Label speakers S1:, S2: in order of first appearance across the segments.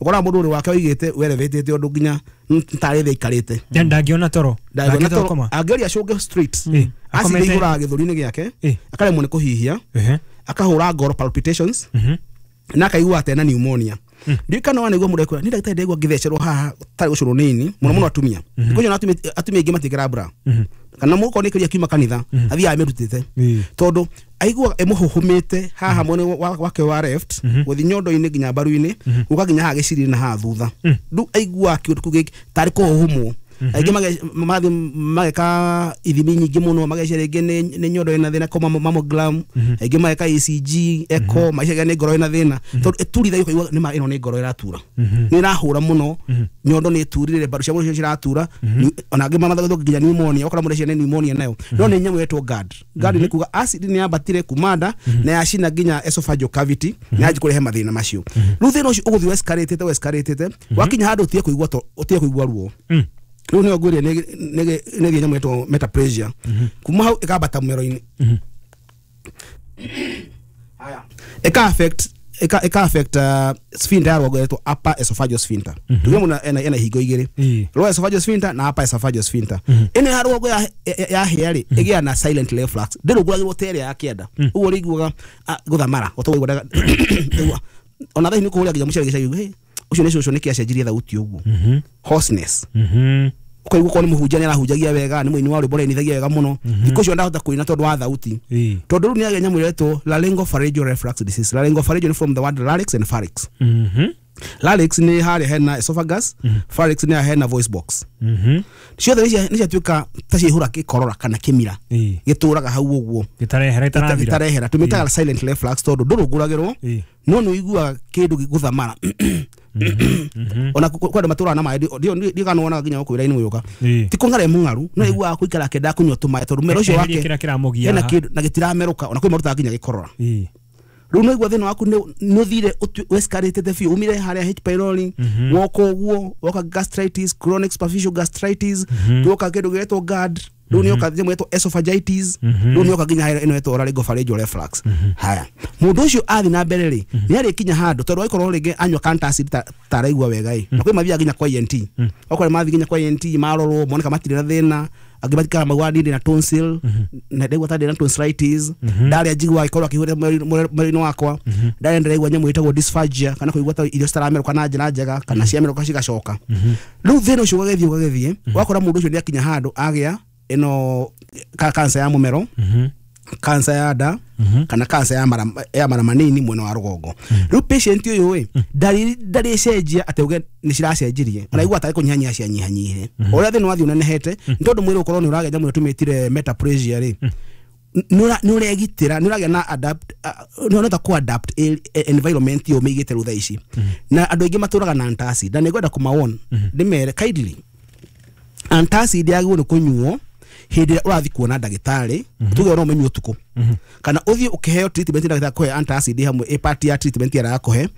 S1: Ũkoraga mũndũ ũrĩ wake wĩigĩte werevetete ũndũ nginya tarĩ thĩ aikarĩte.
S2: Ndangĩona toro.
S1: Ndangĩona
S2: Ndangĩhota
S1: toro.
S2: gũkoma.
S1: Angĩgeria acũnge straight, acid
S2: Akomete-
S1: ĩihũraga gĩthũri-inĩ gĩake, akaremwo nĩ kũhihia, akahũra ngoro, palpitations, na akaigua atĩ ena pneumonia. Ndiũĩ kana wanaigua mũndũ ekwĩra, "Niĩ ndagĩtarĩ, ndaigua ngĩthecerwo haha tarĩ gũcũrwo nĩ ini mũno mũno." Atumia thikũ icio, na atumia aingĩ matiĩkĩra bra, kana mũkorwo nĩ kĩria kiuma kanitha athiaga amĩrutĩte, tondũ aiguaga ĩmũhũhũmĩte haha mwena wake wa left, gũthiĩ nyondo-inĩ nginya mbaru-inĩ, gũka nginya haha gĩciri na haha thutha. Rĩu aiguaga kĩũndũ kĩu gĩkĩ tarĩ kũhũhũmwo. Aingĩ magathiĩ mageka ithimi nyingĩ mũno, magecia rĩngĩ nĩ nyondo ĩna thĩna, koma mammogram, aingĩ mageka ECG, echo, magecia nĩ ngoro ĩna thĩna, tondũ ĩturithagia ũkaigua nĩ ma ĩno nĩ ngoro ĩratura, nĩ ĩrahũra mũno, nyondo nĩ ĩturire, mbaru cia mũndũ ciratura. Ona angĩ mamathagatwo nginya pneumonia, ũkora mũndũ ũcio nĩ pneumonia nayo, no nĩ nyamũ ĩtwo GERD. GERD nĩ kuga acid nĩ yambatire kuma nda na yacina nginya esophageal cavity na yanjia kũrehe mathĩna macio. Rĩu thĩna ũcio ũgũthiĩ escalate-ĩte, wakinya handũ ũtige kũigua ũtige kũigua ruo. Rĩu nĩyo ngwĩrire nĩ nyamũ ĩtwo metaplasia. Kuma hau ĩkambata mũmero-inĩ. Haya, ĩka affect sphincter ya rũgongo ĩtwo upper esophageal sphincter. Tuge mũndũ ena ihingo igĩrĩ, lower esophageal sphincter na upper esophageal sphincter. Ĩno ya rũgongo ya hĩa rĩ, ĩgĩa na silent reflux, ndĩrũngũragĩrwo ta ĩrĩa ya kĩanda ũguo rĩiguaga gũthamara gũtũigua. Ona thaa nĩ kũhũrĩa nginya mũcere gĩcagi, "Hey, ũcio nĩ cũcũ, nĩkĩ acenjirie thauti ũguo?" Hoarseness, ũkaigua korwo nĩ mũhunjia nĩ arahunjagia wega, nĩ mũini wa rwĩmbo ũrainithagia wega mũno, thikũ icio ndahota kũina tondũ wa thauti, tondũ rĩu nĩ agĩa nyamũ ĩretwo laryngopharyngeal reflux disease. Laryngopharyngeal nĩ from the word larynx and pharynx. Larynx nĩ harĩa hena esophagus, pharynx nĩ harĩa hena voice box. Ciothe nĩ ciatuĩka ta ciaihũra gĩkorora kana kĩmira gĩtũraga hau ũguo.
S2: Gĩtarehera, ĩtarathira.
S1: Gĩtarehera. Tũmĩtaga silent reflux tondũ ndũrũngũragĩrwo, no nĩ ũiguaga kĩndũ gĩgũthamara. Ona kwĩ andũ matũraga na maĩ, ndiũ kana wonaga nginya gũkũ wĩra-inĩ ũyũka, ti kũng'ara mũng'aru, no aiguaga kũikara akĩendaga kũnyua tũmaĩ tondũ mũmero ũcio
S2: Eherie
S1: wake
S2: kĩrĩa kĩramũgia
S1: hena
S2: haha.
S1: kĩndũ na gĩtiramerũka. Ona kwĩ marutaga nginya gĩkorora. Rĩu no igua thĩna waku nĩ ũthire escalated biũ, umire harĩa H pylori, woka ũguo, woka gastritis, chronic superficial gastritis, woka kĩndũ gĩetwo GERD, rĩu nĩ yoka nyamũ ĩtwo esophagitis, rĩu nĩ yoka nginya harĩa ĩno ĩtwo laryngopharyngeal reflux. Haya, mũndũ ũcio athiĩ na mbere rĩ, nĩ arĩkinya handũ tondũ agĩkorwo rĩngĩ anyua antacid ta araigua wega ĩ, na kwĩ mathiaga nginya kwa ENT. Okorwo mathiĩ nginya kwa ENT, marorwo moneka matirĩ na thĩna. Angĩ matikara maugaga, "Niĩ ndĩna tonsil na ndaigua ta ndĩna tonsillitis, ndarĩa njiguaga gĩkorwo akĩhũrĩra mwĩrĩ-inĩ wakwa, ndarĩa ndĩraigua nyamũ ĩtagwo dysphagia, kana kũigua ta irio citaramerũka na njĩra njega kana ciamerũka cigacoka." Rĩu thĩna ũcio ũgagĩthiĩ ũgagĩthiĩ, ũgakora mũndũ ũcio nĩ akinya handũ agĩa ĩno cancer ya mũmero, cancer ya nda, kana cancer ya mara manini mwena wa rũgongo. Rĩu patient ũyũ ĩ, ndarĩ cenjia atĩ uge nĩ ciracenjirie, ona igua tarĩ kũnyihanyihia cianyihanyihire. O ũrĩa thĩna wathiĩ ũnenehete, nĩ tondũ mwĩrĩ ũkorwo nĩ ũragĩa nyamũ ĩyo tũmĩtire metaplasia rĩ, nĩ ũregitĩra, nĩ ũragĩa na adapt, nĩ ũrahota kũ adapt environment ĩyo ũmĩigĩte rĩu thaa ici. Na andũ aingĩ matũraga na antacid, na nĩ ngwenda kũmawon ndĩmere kindly, antacid yagĩrĩirwo nĩ kũnyuo hĩndĩ ĩrĩa ũrathiĩ kuona ndagĩtarĩ. Tuge no ũmĩnyue ũtukũ, kana ũthiĩ ũkĩheo treatment, ndagĩtarĩ akũhe antacid hamwe ĩ part ya treatment ĩrĩa arakũhe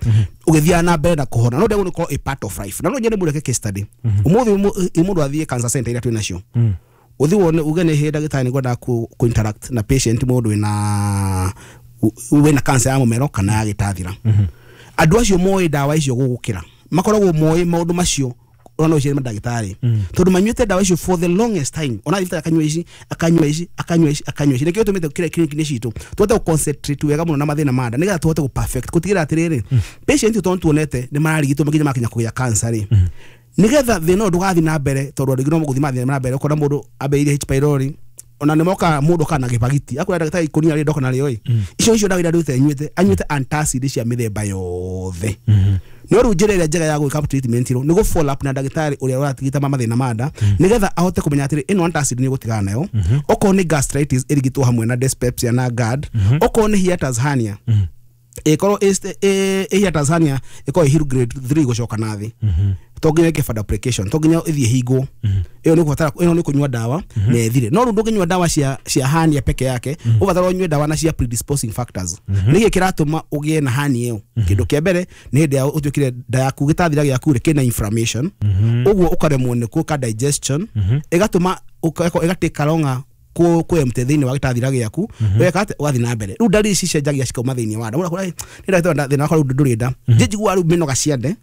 S1: ũgĩthiaga na mbere na kũhona, no ndĩagĩrĩirwo nĩ gũkorwo ĩ part of life. Na no nyende mũndũ eke case study ũmũthĩ, mũndũ athiĩ cancer center iria twĩ nacio, ũthiĩ wone, uge, "Nĩ hĩndĩ ndagĩtarĩ, nĩ ngwendaga ku interact na patient, mũndũ wĩna cancer ya mũmero kana ya gĩtathira." Andũ acio moĩ ndawa icio gũgũkĩra, makoragwo moĩ maũndũ macio, ona no ũcere mandagĩtarĩ tondũ manyuĩte ndawa icio for the longest time. Ona thibitarĩ akanyua ici, akanyua ici, akanyua ici, akanyua ici. Nĩkĩo tũmĩte kĩrĩa clinic-inĩ citũ tũhote gũ concentrate wega mũno na mathĩna ma nda, nĩgetha tũhote gũ perfect gũtigĩrĩra atĩrĩrĩ, patient tondũ tuonete nĩ mararigitwo nginya makinya kũgĩa cancer rĩ, nĩgetha thĩna ũyũ ndũgathiĩ na mbere, tondũ andũ aingĩ no gũthiĩ mathiĩ na mbere. Ũkona mũndũ ambĩrĩirie H pylori, ona nĩ mokaga mũndũ kana gĩbagiti akwĩra, "Ndagĩtarĩ, ikũnia rĩ ndoka narĩo ĩ, icio ndawa iria ndĩte nyuĩte." Anyuĩte antacid cia mĩthemba yothe. No rĩu njĩra ĩrĩa njega ya gwĩka treatment rĩ, nĩ gũ follow up na ndagĩtarĩ ũrĩa ũratigita mathĩna ma nda, nĩgetha ahote kũmenya atĩrĩ, ĩno antacid nĩ ũgũtigana nayo. Okorwo nĩ gastritis, ĩrigitwo hamwe na dyspepsia na GERD. Okorwo nĩ hiatus hernia, ĩkorwo ĩ hiatus hernia, ĩkorwo ĩ Hill grade 3 gũcoka na thĩ, to nginya ĩke fundoplication, to nginya ĩthiĩ hingwo ĩyo. Nĩ kũbatara ĩno nĩ kũnyua ndawa na ĩthire. No rĩu ndũngĩnyua ndawa cia hernia peke yake, ũbatara ũnyue ndawa na cia predisposing factors. Nĩkĩ kĩratũma ũgĩe na hernia ĩyo? Kĩndũ kĩa mbere nĩ hĩndĩ ya ũtuĩkire nda yaku, gĩtathira gĩaku rĩ, kĩna inflammation, ũguo ũkaremwo nĩ gwĩka digestion, ĩgatũma ĩgatĩka longer. Kwemte thĩinĩ wa gĩtathira gĩaku weka atĩ ũgathiĩ na mbere. Rĩu ndariri ici cicenjagia cikauma thĩinĩ wa nda. Mũndũ akwĩra, "Ĩ, nĩ ndagĩtarĩ, thĩna wakwa rĩu ndũrĩ nda, njiguaga rĩu mĩnoga ciande."